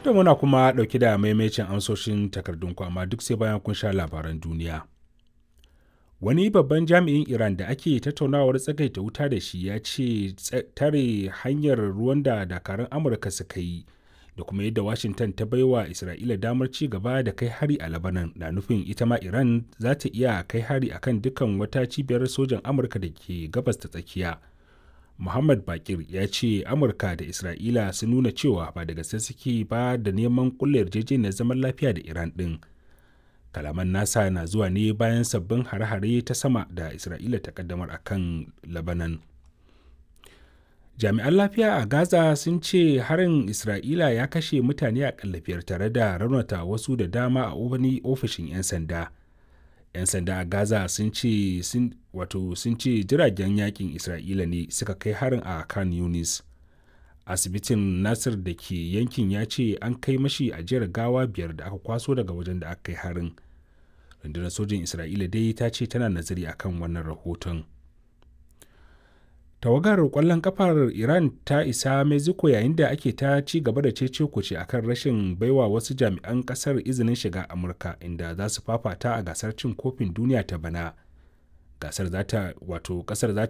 To muna kuma ɗauke da maimacin amsoshin takardun amma duk sai bayan kun sha labaran duniya. Wani babban jami'in Iran da ake tattaunawar tsagaita wuta da shi ya ce tare hanyar ruwan da dakarun Amurka suka yi da kuma yadda Washington ta baiwa Isra'ila damar ci gaba da kai hari a Lebanon na nufin ita ma Iran za ta iya kai hari akan dukkan wata cibiyar sojan Amurka da ke gabas ta tsakiya. Muhammad Bakir ya ce Amurka da Isra'ila sun nuna cewa ba da gaske suke ba da neman kulle yarjejeniyar zaman lafiya da Iran ɗin. Kalaman nasa na zuwa ne bayan sabbin hare-hare ta sama da Isra'ila ta kaddamar a kan Lebanon. Jami'an lafiya a Gaza sun ce harin Isra'ila ya kashe mutane a 5 tare da raunata wasu da dama a wani ofishin 'yan sanda. 'Yan sanda a Gaza sun ce wato sun ce jiragen yakin Isra'ila ne suka kai harin a Khan Yunis. Asibitin Nasir da ke yankin ya ce an kai mashi ajiyar gawa 5 da aka kwaso daga wajen da aka kai harin. Rundunar sojin Isra'ila dai ta ce tana nazari akan wannan rahoton. Tawagar kwallon kafar Iran ta isa Mexico yayin da ake ta ci gaba da cece kuce akan rashin baiwa wasu jami'an kasar izinin shiga Amurka inda za su fafata a gasar cin kofin duniya ta bana. Gasar za ta wato kasar za